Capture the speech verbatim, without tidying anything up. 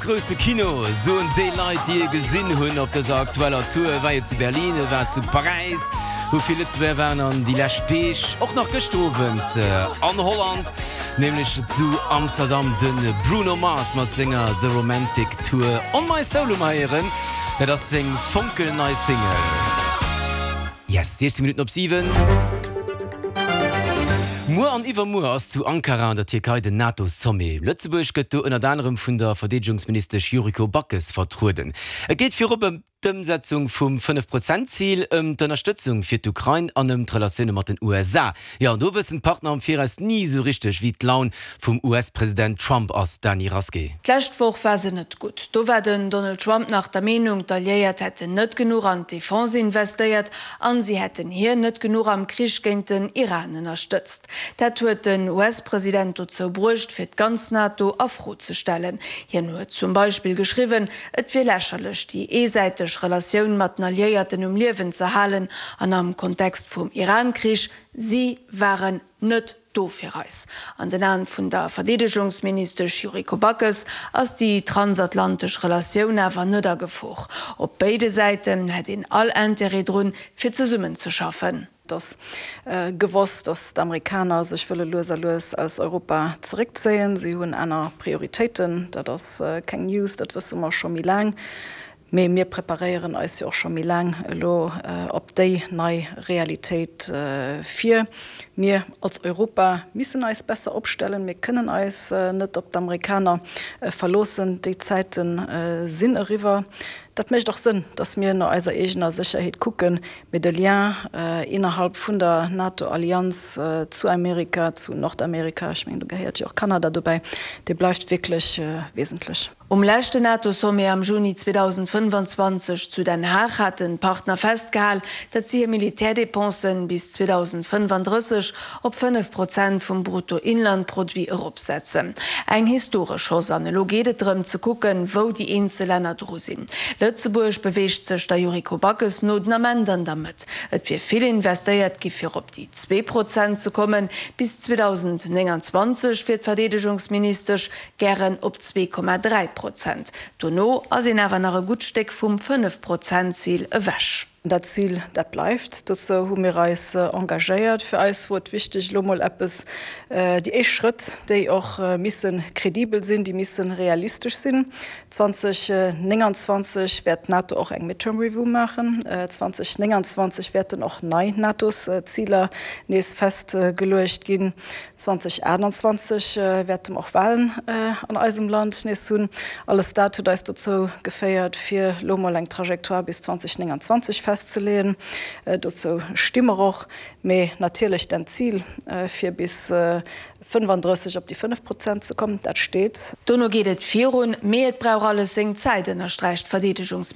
grousse Kino, soen déi Leit, déi e gesinn hunn op dëser aktueller Tour. E war jo zu Berlin, e war zu Paräis, wou vill Lëtzebuerger waren an déi lescht Deeg och nach gëschter Owend an Holland, nämlech zu Amsterdam, de Bruno Mars mat senger The Romantic Tour. On My Soul hu mer héieren, dat ass seng fonkelnei Single. Yes, siechzéng Minutten op siwen. Muer an iwwermuer ass zu Ankara an der Tierkei den NATO-Sommet. Lëtzebuerg gëtt do ënnert anerem vun der Verdeedegungsministesch Yuriko Backes vertrueden. Et geet virop ëm d'Ëmsetzung vum Fënnef-Prozent-Zil, ëm d'Ënnerstëtzung fir d'Ukrain an ëm d'Relatioune mat den U S A. Jo, an do wëssen d'Partner am Viraus ni esou richteg, wéi d'Laun vum U S-President Trump ass, Dany Rasqué. D'lescht Woch war se net gutt. Do war den Donald Trump nach der Meenung, d'Alliéiert hätten net genuch an d'Defense investéiert an si hätten hien net genuch am Krich géint den Iran ënnerstëtzt. Dat huet den U S-President dozou bruecht, fir d'ganz NATO a Fro ze stellen. Hien huet zum Beispill geschriwwen, et wier lächerlech, déi eesäiteg Relatioun mat den Alliéierten um Liewen ze halen an am Kontext vum Iran-Krich, si waren net do fir eis. An den Aen vun der Verdeedegungsministesch Yuriko Backes ass déi transatlantesch Relatioun awer net a Gefor. Op béide Säiten hätt een all Interêt drun, fir zesummenzeschaffen. Et ass gewosst, datt d'Amerikaner sech wëlle lues a lues aus Europa zeréckzéien. Si hunn aner Prioritéiten. Dat ass keng News, dat wësse mer scho méi laang. Mee mir preparéieren eis jo och scho méi laang elo op déi nei Realitéit vir. Mir als Europa missen eis besser opstellen. Mir kënnen eis net op d'Amerikaner verloossen. Déi Zäite sinn eriwwer. Dat mécht och Sënn, datt mir no eiser eegener Sécherheet kucken. Mee de Lien innerhalb vun der NATO-Allianz zu Amerika, zu Nordamerika, ech mengen do gehéiert jo och Kanada dobäi, dee bleift wierklech wesentlech. Um leschten NATO-Sommet am Juni zweedausendfënnefanzwanzeg zu Den Haag haten d'Partner festgehal, datt si hir Militärdépensen bis zweedausendfënnefanddrësseg op fënnef Prozent vum Bruttoinlandproduit eropsetzen. Eng historesch Hausse an elo geet et drëm ze kucken, wou déi eenzel Länner dru sinn. Lëtzebuerg beweegt sech der Yuriko Backes no den Ament an der Mëtt. Et wier vill investéiert gi fir op déi zwee Prozent ze kommen. Bis zweedausendnénganzwanzeg wier d'Verdeedegungsministesch gären op zwee Komma dräi Prozent. Dono ass een awer nach e gutt Stéck vum fënnef Prozent Zil ewech. Dat Zil, dat bleift. Dozou hu mir eis engagéiert. Fir eis wor et wichteg, elo mol eppes, déi éischt Schrëtt, déi och misse kredibel sinn, déi misse realistesch sinn. zweedausendnénganzwanzeg wäert d'NATO och eng Midterm Review maachen. zweedausendnénganzwanzeg wäerten och nei NATOs-Ziler nees festgeluecht ginn. zweedausendachtundzwanzeg wäerte mer och Walen an eisem Land nees hunn. Alles dat huet eis dozou geféiert, fir elo mol eng Trajectoire bis zweedausendnénganzwanzeg festzeleeën. Dozou sti mer och. Mee natierlech den Zil, fir bis fënnefandrësseg op déi fënnef Prozent ze kommen, dat steet. Dono geet et virun, mee et brauch alles seng Zäit, ënnersträicht d'Verdeedegungsministesch.